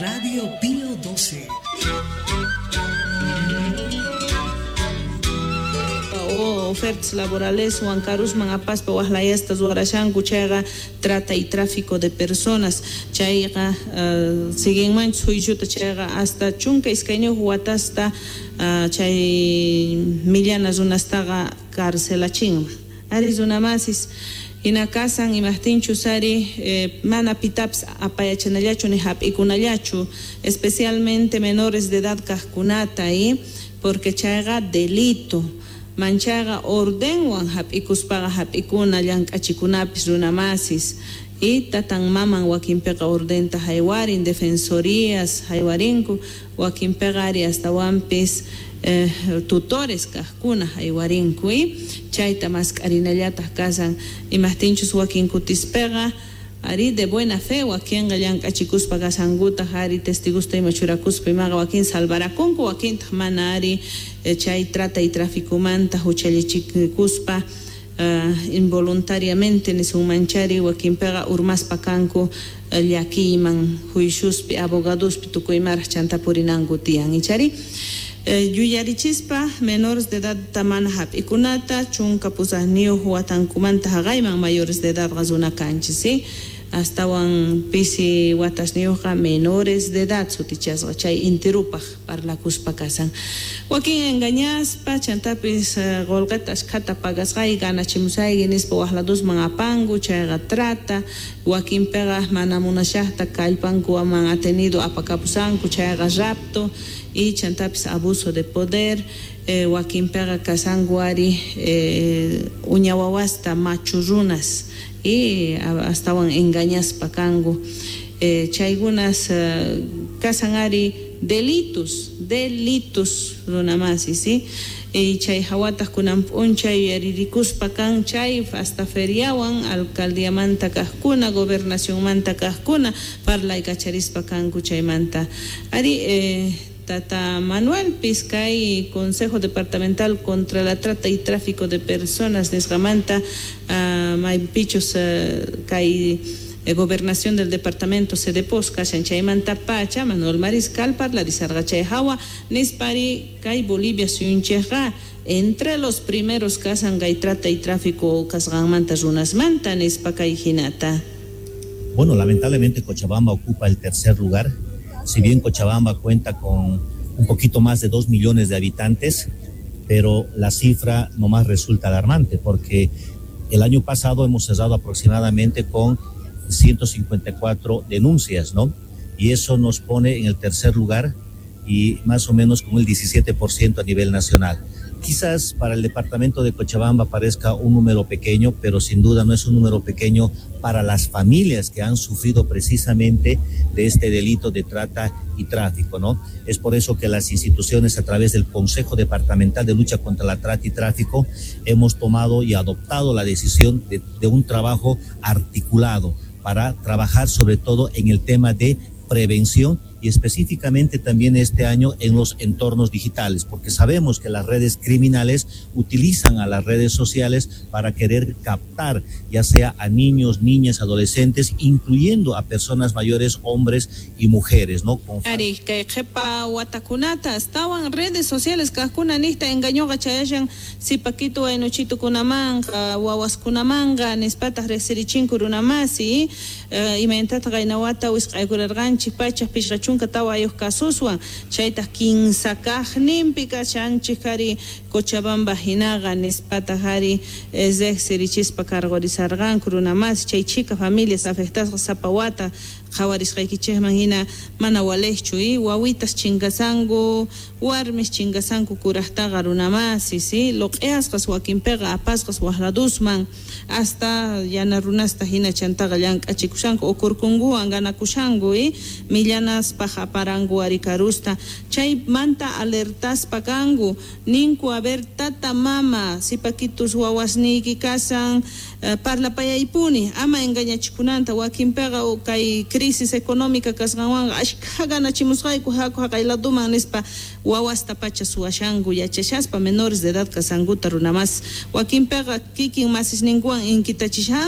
Radio Pío 12. O ofertas laboraleswan karusman apaspa wajlayasta ruwarashanku, chayqa trata y tráfico de personas. Chayqa siguinmanchus juiciota, chayqa hasta 12 watasta chay millana runastaqa carcelachinman. Ari runamasis, hina kasan imajtinchus ari mana pitapis apayachanallachu ni hap'ikunallachu, especialmente menores de edad kajkunata, porque chayqa delito. Manchaqa ordenwan hap'ikuspaqa hap'ikuna llank'achikunapis runamasis, y tatan maman wakinpiqa ordenta haywarin, defensorías haywarinku, wakinpiqa ari astawanpis tutores kajkuna haywarinku, y chayta mask'arinallataq kasan imajtinchus wakin kutispeqa ari de buena fe wakinqa llank'achikuspa kasankutaq ari testigusta ima churakuspa imaqa wakin salvarakunku, wakintaq mana ari chay trata y traficomanta huchallichikuspa involuntariamente nisunmanchari wakinpiqa urmaspa kanku llakiyman juiciospi abogadospi tukuymaraq chanta purinanku tiyan, ichari. Yuyarichispa menores de edad mana hap'ikunata 18 watankumanta haqayman mayores de edad runa kanchis, ¿sí? Astawan pisi watasniyuqqa menores de edad sutichasqa chay intirupaq parlakuspa kasan. Wakin engañaspa chantapis qolqeta ashkhata pagasqay ganachimusayki nispa waqladusman apanku, chayqa trata. Wakinpiqa mana munashaqta kallpankuman atenido apakapusanku, chayqa rapto y chantapis abuso de poder. Wakinpiqa kasanku ari uña wawasta machu runas y astawan engañaspa kanku. Chaykunas kasan ari delitos, delitos runamasi, ¿sí? Y chay hawataq kunan p'unchay yuyaririkuspa kan chay hasta feriawan alcaldiamanta kajkuna, gobernacionmanta kajkuna parlaykacharispa kanku chaymanta. Ari Tata Manuel Pizcay, Consejo Departamental contra la Trata y Tráfico de Personas nisqamanta, maypichus kay gobernación del departamento Cedepos kashan chaymanta pacha Manuel Mariscal parlarisarqa chay hawa nispari kay Bolivia suyunchikqa entre los primeros kasan kay trata y tráfico kasqanmanta runasmanta nispa kay hinata. Bueno, lamentablemente Cochabamba ocupa el tercer lugar. Si bien Cochabamba cuenta con un poquito más de 2 millones de habitantes, pero la cifra nomás resulta alarmante porque el año pasado hemos cerrado aproximadamente con 154 denuncias, ¿no? Y eso nos pone en el tercer lugar y más o menos con el 17% a nivel nacional. Quizás para el departamento de Cochabamba parezca un número pequeño, pero sin duda no es un número pequeño para las familias que han sufrido precisamente de este delito de trata y tráfico, ¿no? Es por eso que las instituciones, a través del Consejo Departamental de Lucha contra la Trata y Tráfico, hemos tomado y adoptado la decisión de un trabajo articulado para trabajar sobre todo en el tema de prevención y específicamente también este año en los entornos digitales, porque sabemos que las redes criminales utilizan a las redes sociales para querer captar ya sea a niños, niñas, adolescentes, incluyendo a personas mayores, hombres y mujeres, ¿no? Con Ari, kay qhipa watakunata astawan redes sociales kajkuna nijta engañoqa chayashan sipaquito waynuchitukunamanqa, wawaskunamanqa, nispataq riqsirichinku runamasi, imaynataq qaynawata wisq'aykurarqanchik pachak pishqa 14 kasuswan, chaytaq kinsa kaqninpi kashanchik ari Cochabamba hinaqa nispataq ari riqsirichispa cargorizarqanku runamasi, chay chika familias afectasqa sapa wata qhawarisqaykichikman hina mana waliqchu, wawitas chinkasanku, warmis chinkasanku kuraqtaqa runamasi, ¿sí? Loq'iyasqas wakinpiqa apasqas waqladusman hasta yana runasta hina chantaqa llank'achikushanku ukurkunkuwan ganakushanku, millanaspaq aparanku ari karusta, chaymanta alertaspa kanku ninku, a ver, tata mama sipakitus wawasniyki kasan, parlapayaypuni ama engañachikunanta, wakinpiqa kay crisis económica kasqanwanqa ashkha ganachimusqayku haku haqayladuman nispa wawasta pacha suwashanku yachashaspa menores de edad kasankuta runamas, wakinpiqa kikin masisninkuwan inkitachishanku.